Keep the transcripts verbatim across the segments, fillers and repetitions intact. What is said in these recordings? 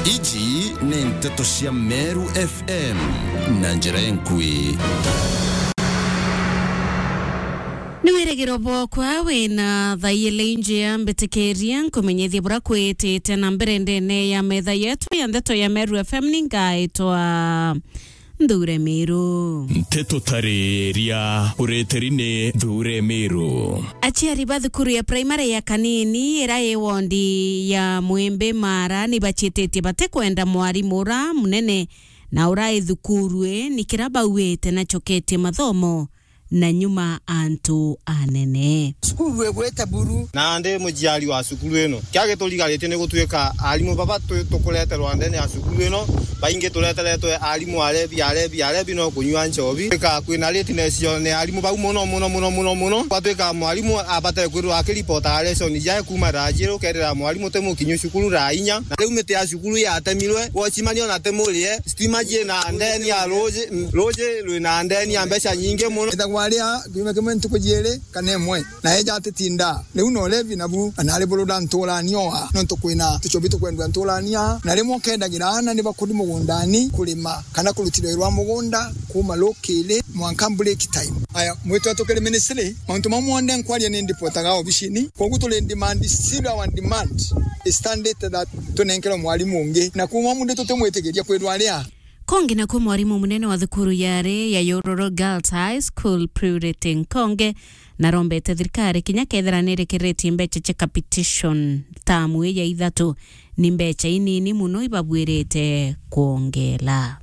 Iji ni nteto cia Meru F M na njira enkui. Ni wirigiro bwokwa wina thaiyile injia mbitikiria nkumenyithie bura kwitite na mbere ndene ya metha yetu ya ndeto ya Meru F M ni ngaitwa Nthure Miru. Nteto tariria ureteri ni Nthure Miru. Aciari ba thukuru ya primary ya Kanini ira i wondi ya Mwimbi Mara ni bacititie batikwenda mwarimu ura munene na ura i thukuru i ni kira bauite nacoketie mathomo na nyuma antu anene. Cukuru igwite buru. Nandi muciari wa cukuru ino, kia giturigarite ni gutuika arimu baba tu-, tukureterwa ndene ya cukuru ino, baingi tureteretwe arimu arebi, arebi, arebi no kunyua nchobi. Tuika kwina lateness yo ni arimu bau muno, muno, muno, muno, muno. Gwatuika mwarimu abatere kwirwa akiripotaga lesson jae kuma thaa jiiri ukerira mwarimu ti mukinyu cukuru thaa inya. Na riu miti ya cukuru yatemirwe, watchman ona ti murie, stima ciina ndeni ya ruji, ruji rwina ndeni ya mbeca nyingi muno. Ethagwa aria kiumia kimwe ntuku jiiri kana imwe, na eja atitinda. Riu no levi nabu, na ari burura nturania oa, nontu kwina tuchobi tukwendua nturania, na rimwe ukendagira aana ni bakuri mugundani kurima kana kurutira wira wa mugunda kuuma rukiri mwanka break time. Aya, mwitwa tukiri ministry, mauntu mau monthe nkwaria ni ndipotaga obicini, koguo turi in demand, still our demand is standard that tunenkerwe mwarimu ungi, na kuuma mundu tutimwitikiria kwirwa aria. Kongi nakuo mwarimu munene wa thukuru yari ya Yororo Girls High School, Purity Nkonge, narombete thirikari kinya kethira nirekeretie mbeca cia capitation tamu ii ya ithatu, ni mbeca inini muno ibabwirite kwongela.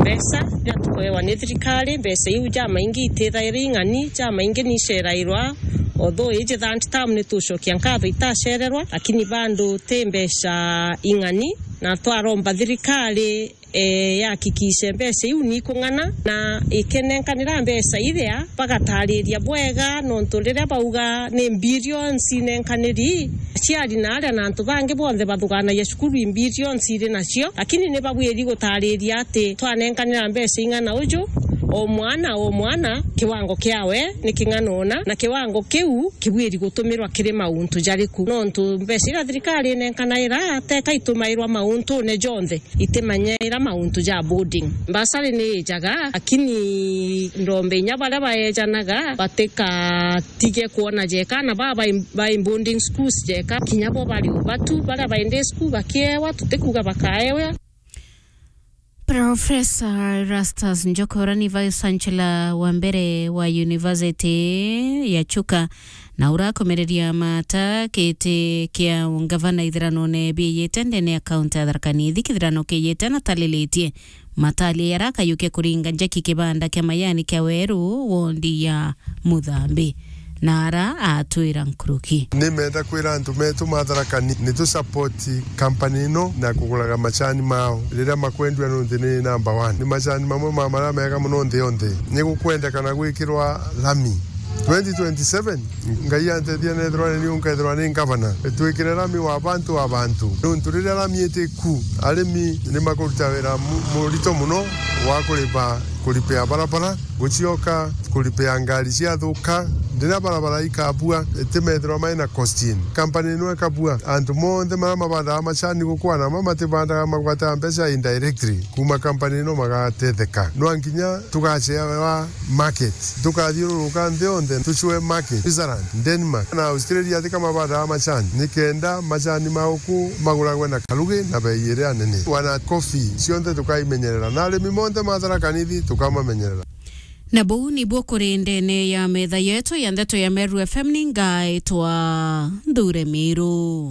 Mbeca iria tukuewa ni thirikari, mbeca iu jamaingi itithaira ing'ani, jamaingi ni icerairwa, although iji third term ni tucokia nkatho itacererwa, lakini bado ti mbeca ing'ani, na twaromba thirikari eh, yahakikishe mbeca iu ni ikung'ana, na ikenenkanira mbeca iria bagatariria bwega, nontu riria bauga ni billions inenkaniri, aciari na aria na antu bangi bonthe bathuganagia cukuru i billions iri nacio, lakini ni babwiri gutariria ati twanenkanira mbeca ing'ana uju, o mwana, o mwana, kiwango kiawe ni king'ana una, na kiwango kiu kibwiri gutumirwa kiri mauntu jariku. Nontu mbeca iria thirikari inenkanaira teka itumairwa mauntune jonthe. Itimenyeera mauntu ja boarding. Bursary ni ijaga, lakini ndombe inya baria baejanaga batikatige kwona jeka na baba bai, bai boarding schools jeka, kinya bo bari ubatu, baria bai day school bakiewa, tutikuga bakaewa. Professor Erastus Njokora ni Vice Chancellor wa mbere wa University ya Chuka, na urakomereria mata kiti kia ungavana ithiranone bieyete ndene ya kaunti ya Tharaka Nithi. Kithirano kieyete na talilitie matalia yarakayukia kuringa njaki kibanda kia mayani kia Weru, wondi ya Muthambi, na ara atwira nkuruki. Ni menda kwira antu metu ma Tharaka Nithi ni tu support company ino na kuguraga macani mao riria makwendua, nontu ni number one. Ni macani mamwe ma maria mega muno nthi yonthe. Ni gukwendekana gwikirwa lami. Twenty twenty-seven, Ngai antethia nethirwa ni niu nkethirwa ni ngavana. Twikire lami wa bantu wa bantu. Nontu riria lami iti ku, arimi ni makuruta wira mu-, murito muno wa kuriba, kuripea barabara, gucioka kuripea ngari ciathuka. Riria barabara ikabua, itimethirwa mai na cost in. Company ino ikabua, antu monthe maria mabandaga macani gukwana, ma matibandaga magwata mbeca indirectly kuma company ino magatetheka. Nwa nginya tugacewa market. Tukathiururuka nthi yonthe, tucwe market, Switzerland, Denmark, na Australia, tika mabandaga macani, nikenda macani ma uku maguragwe na karugi na bei iria nene. Wana coffee, cionthe tukaimenyerera, na arimi monthe ma Tharaka Nithi tukamamenyerera. Na buu nibuo kuri ndene ya metha yetu ya ndeto ya Meru F M, ni ngaitwa Nthure Miru.